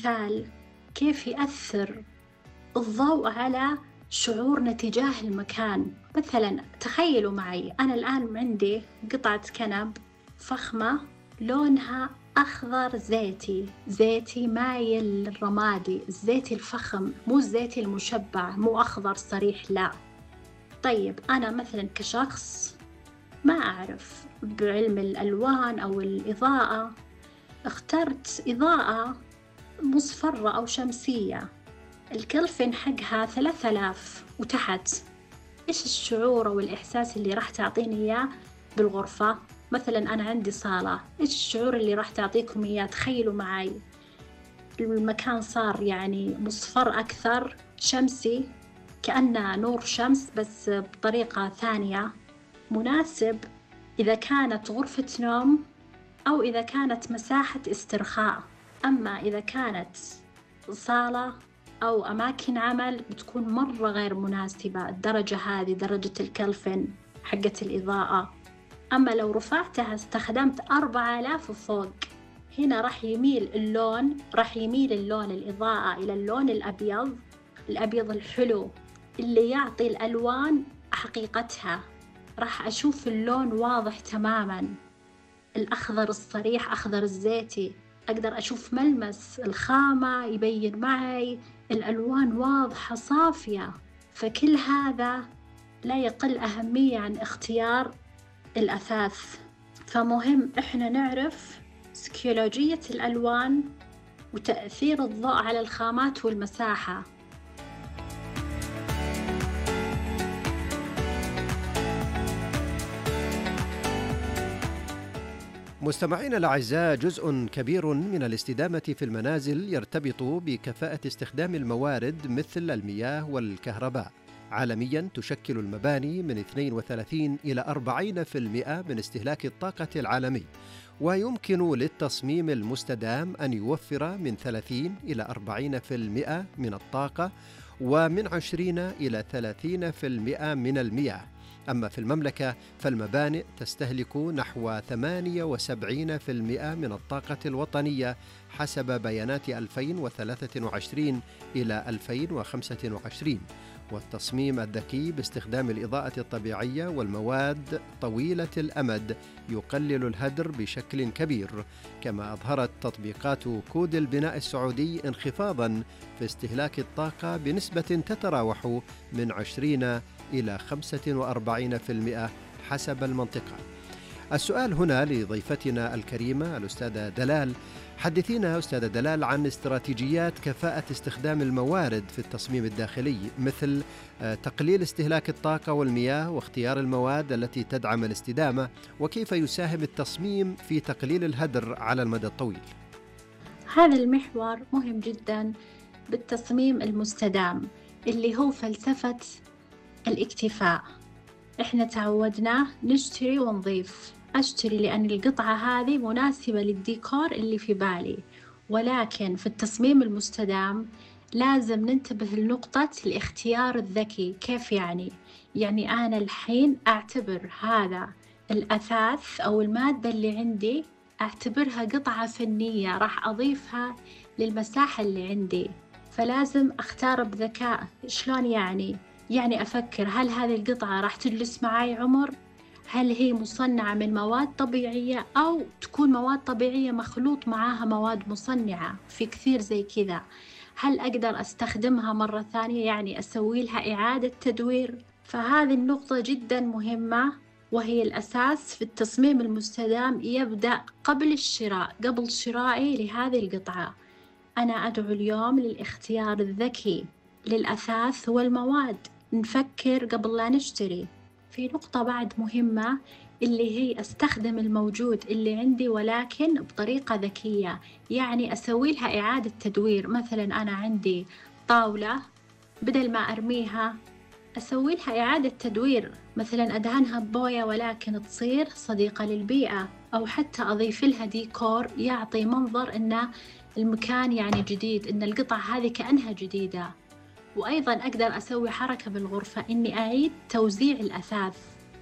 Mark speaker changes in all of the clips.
Speaker 1: مثال كيف يأثر الضوء على شعورنا تجاه المكان. مثلاً تخيلوا معي، أنا الآن عندي قطعة كنب فخمة لونها أخضر زيتي مايل للرمادي، الزيتي الفخم، مو الزيتي المشبع، مو أخضر صريح، لا. طيب أنا مثلاً كشخص ما أعرف بعلم الألوان أو الإضاءة، اخترت إضاءة مصفرة أو شمسية، الكلفن حقها 3000 وتحت. إيش الشعور أو الإحساس اللي راح تعطيني إياه بالغرفة؟ مثلاً أنا عندي صالة، إيش الشعور اللي راح تعطيكم إياه؟ تخيلوا معي، المكان صار يعني مصفر أكثر، شمسي، كأنه نور شمس بس بطريقة ثانية، مناسب إذا كانت غرفة نوم أو إذا كانت مساحة استرخاء. أما إذا كانت صالة أو أماكن عمل بتكون مرة غير مناسبة، الدرجة هذه درجة الكلفن حقة الإضاءة. أما لو رفعتها استخدمت 4000 وفوق، هنا راح يميل اللون الإضاءة إلى اللون الأبيض الحلو اللي يعطي الألوان حقيقتها. راح أشوف اللون واضح تماماً، الأخضر الصريح، أخضر الزيتي، أقدر أشوف ملمس الخامة يبين معي، الألوان واضحة صافية. فكل هذا لا يقل أهمية عن اختيار الأثاث. فمهم إحنا نعرف سيكولوجية الألوان وتأثير الضوء على الخامات والمساحة.
Speaker 2: مستمعينا الأعزاء، جزء كبير من الاستدامة في المنازل يرتبط بكفاءة استخدام الموارد مثل المياه والكهرباء. عالميا تشكل المباني من 32 إلى 40% من استهلاك الطاقة العالمي، ويمكن للتصميم المستدام أن يوفر من 30 إلى 40% من الطاقة، ومن 20 إلى 30% من المياه. أما في المملكة فالمبانئ تستهلك نحو 78% من الطاقة الوطنية حسب بيانات 2023 إلى 2025. والتصميم الذكي باستخدام الإضاءة الطبيعية والمواد طويلة الأمد يقلل الهدر بشكل كبير، كما أظهرت تطبيقات كود البناء السعودي انخفاضاً في استهلاك الطاقة بنسبة تتراوح من 20 إلى 45% حسب المنطقة. السؤال هنا لضيفتنا الكريمة الأستاذة دلال. حدثينا أستاذة دلال عن استراتيجيات كفاءة استخدام الموارد في التصميم الداخلي، مثل تقليل استهلاك الطاقة والمياه واختيار المواد التي تدعم الاستدامة، وكيف يساهم التصميم في تقليل الهدر على المدى الطويل.
Speaker 1: هذا المحور مهم جدا بالتصميم المستدام اللي هو فلسفة الاكتفاء. إحنا تعودنا نشتري ونضيف، أشتري لأن القطعة هذه مناسبة للديكور اللي في بالي، ولكن في التصميم المستدام لازم ننتبه لنقطة الاختيار الذكي. كيف يعني؟ يعني أنا الحين أعتبر هذا الأثاث أو المادة اللي عندي أعتبرها قطعة فنية راح أضيفها للمساحة اللي عندي، فلازم أختار بذكاء. شلون يعني؟ يعني أفكر هل هذه القطعة راح تجلس معي عمر؟ هل هي مصنعة من مواد طبيعية أو تكون مواد طبيعية مخلوط معاها مواد مصنعة؟ في كثير زي كذا. هل أقدر أستخدمها مرة ثانية، يعني أسوي لها إعادة تدوير؟ فهذه النقطة جدا مهمة وهي الأساس في التصميم المستدام. يبدأ قبل الشراء، قبل شرائي لهذه القطعة أنا أدعو اليوم للاختيار الذكي للأثاث والمواد، نفكر قبل لا نشتري. في نقطة بعد مهمة اللي هي أستخدم الموجود اللي عندي ولكن بطريقة ذكية، يعني أسوي لها إعادة تدوير. مثلا أنا عندي طاولة، بدل ما أرميها أسوي لها إعادة تدوير، مثلا أدهنها ببوية ولكن تصير صديقة للبيئة، أو حتى أضيف لها ديكور يعطي منظر إن المكان يعني جديد، إن القطعة هذه كأنها جديدة. وأيضاً أقدر أسوي حركة بالغرفة إني أعيد توزيع الأثاث،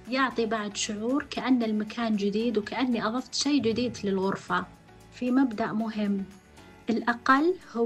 Speaker 1: يعطي بعد شعور كأن المكان جديد وكأني أضفت شيء جديد للغرفة. في مبدأ مهم، الأقل هو